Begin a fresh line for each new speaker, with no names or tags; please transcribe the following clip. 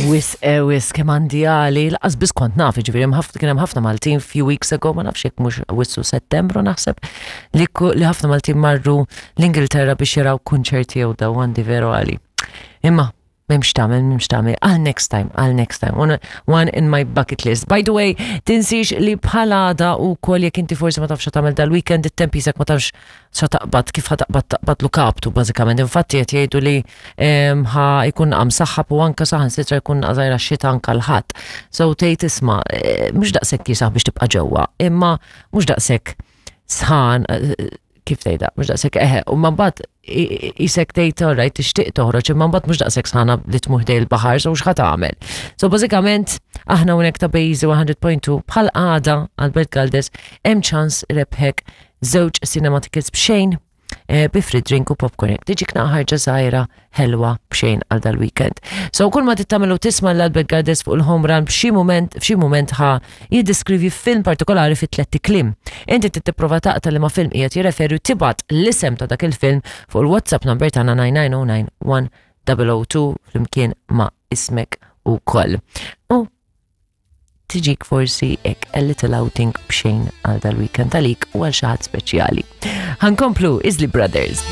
Wisq, eh, wisq, kemm għandi għali, lanqas biss kont naf, ġifieri hemm ħafna kien hemm ħafna Maltin few weeks ago, ma nafx jekk mhux Awwissu Settembru naħseb, li li ħafna Maltin marru l-Ingilterra biex jaraw kunċerti jew daw għandi veru għali. Imma m'hemmx tagħmel, m'hemmx tagħmel, għal next time, għal next time, one, one in my bucket list. By the way, tinsiex li bħal għada u kol jekk inti forsi ma tafx tagħmel dal-weekend, it-temp jisek ma tafx xa taqbad, kif ħa taqbad taqbad kaptu bażikament. Infatti qed jgħidu li ħa jkun qam saħħab u anka saħansitra jkun qżajra xita anka l-ħadd. So tgħid isma' eh, mhux daqshekk jisaħ biex tibqa' ġewwa, imma mhux daqshekk sħan eh, kif tgħidha, mhux daqshekk eħe, u ma mbagħad isek tgħid alright tixtieq toħroġ imma mbagħad mhux daqshekk sħana li tmur ħdej il-baħar, so x'ħa tagħmel. So bażikament aħna hawnhekk ta' Bejzi 100.2 bħal għada Albert Galdes hemm ċans rebħek żewġ cinema tickets b'xejn eh, bi free drink u popcorn. Tiġik ħarġa żgħira ħelwa b'xejn għal dal-weekend. So kull ma tittamelu tisma' l-Albert Galdes fuq il-home run b'xi moment f'xi moment ħa jiddeskrivi film partikolari fi tletti kliem. Inti trid tipprova taqta' li ma film qiegħed jirreferi u tibgħat l-isem ta' dak il-film fuq il-WhatsApp number tagħna 9909 1002 flimkien ma' ismek ukoll. U tiġik forsi ek a little outing b'xejn għal dal-weekend għalik u għal xi ħadd speċjali. Ħankomplu Isley Brothers.